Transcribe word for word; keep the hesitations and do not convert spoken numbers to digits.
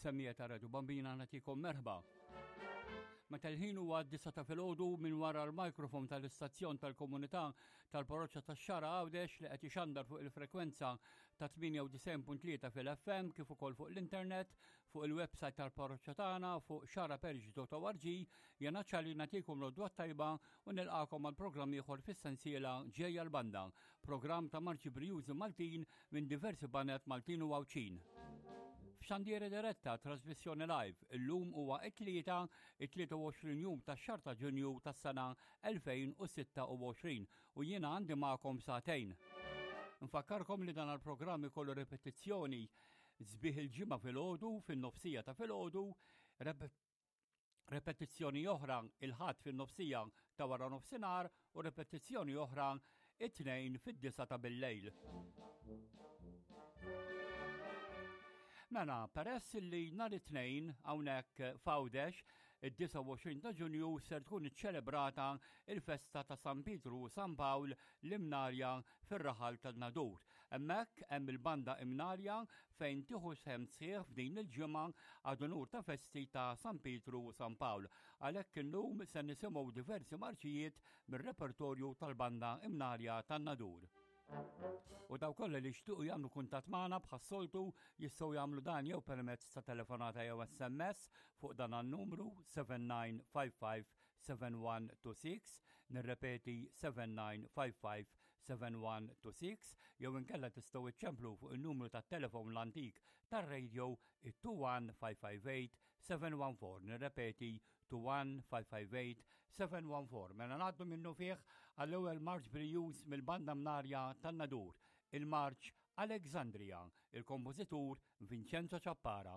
Semmiegħa ta' Radio Bambina, nagħtikom merħba. Meta l-ħin huwa d-disgħa ta' filgħodu, minn wara l-mikrofon tal-istazzjon tal-komunità tal-Parroċċa tax-Xagħra Għawdex li qed ixandar fuq il-frekwenza ta' tmienja u disgħin punt tlieta fil-F M kif ukoll fuq l-internet fuq il-website tal-parroċċa tagħna fuq xagħraparish punt org, jiena ċali nagħtikom l-għodwa tajba u nilqakom għal programm ieħor fis-sensiela Ġejja l-Banda, programm ta' marċi brijużi Maltin minn diversi baned Maltin u Għawdxin. F'xandira diretta, trasmissjoni live, illum huwa it-Tlieta, it-tlieta u għoxrin jum tax-xahar ta' Ġunju tas-sena elfejn u sitta u għoxrin u jiena għandi magħkom sagħtejn. Nfakkarkom li dan il-programm ikollu repetizzjoni sbieħ il-Ġimgħa filgħodu, fin-nofsija ta' filgħodu, repetizzjoni oħra il-Ħadd fin-nofsija ta' wara nofsinhar u repetizzjoni oħra it-Tnejn fid-disgħa ta' bil-lejl. Mela, peress li nhar it-Tnejn hawnhekk f'Għawdex, id-disgħa u għoxrin ta' Ġunju, ser tkun iċċelebrata il-festa ta' San Pietru u San Pawl l-Imnarja fir-raħal tan-Nadur. Hemmhekk hemm il-banda Imnarja fejn tieħu sehem sħiħ f'din il-ġimgħa għad unur ta' festi ta' San Pietru u San Pawl. Għalhekk illum se nisimgħu diversi marċijiet mir-repertorju tal-banda Imnarja tan-Nadur. U dawk kollha li jixtiequ jagħmlu kuntatt magħna, bħas-soltu jistgħu jagħmlu dan jew permezz ta' telefonata jew S M S fuq dan an-numru seba' tnejn ħamsa ħamsa seba' wieħed tnejn sitta, nirrepeti, seba' tnejn ħamsa ħamsa seba' wieħed tnejn sitta, jew inkella tistgħu iċċemplu fuq in-numru tat-telefon l-antik tar-radio, it-tnejn wieħed ħamsa ħamsa tmien seba' wieħed erba', nirrepeti, tnejn wieħed ħamsa ħamsa tmien seba' wieħed erba. Mela ngħaddu minnufih għall-ewwel marċ brijuż mill-banda Mnarja tan-Nadur, il-marċ Alexandria, il-kompożitur Vincenzo Ciappara.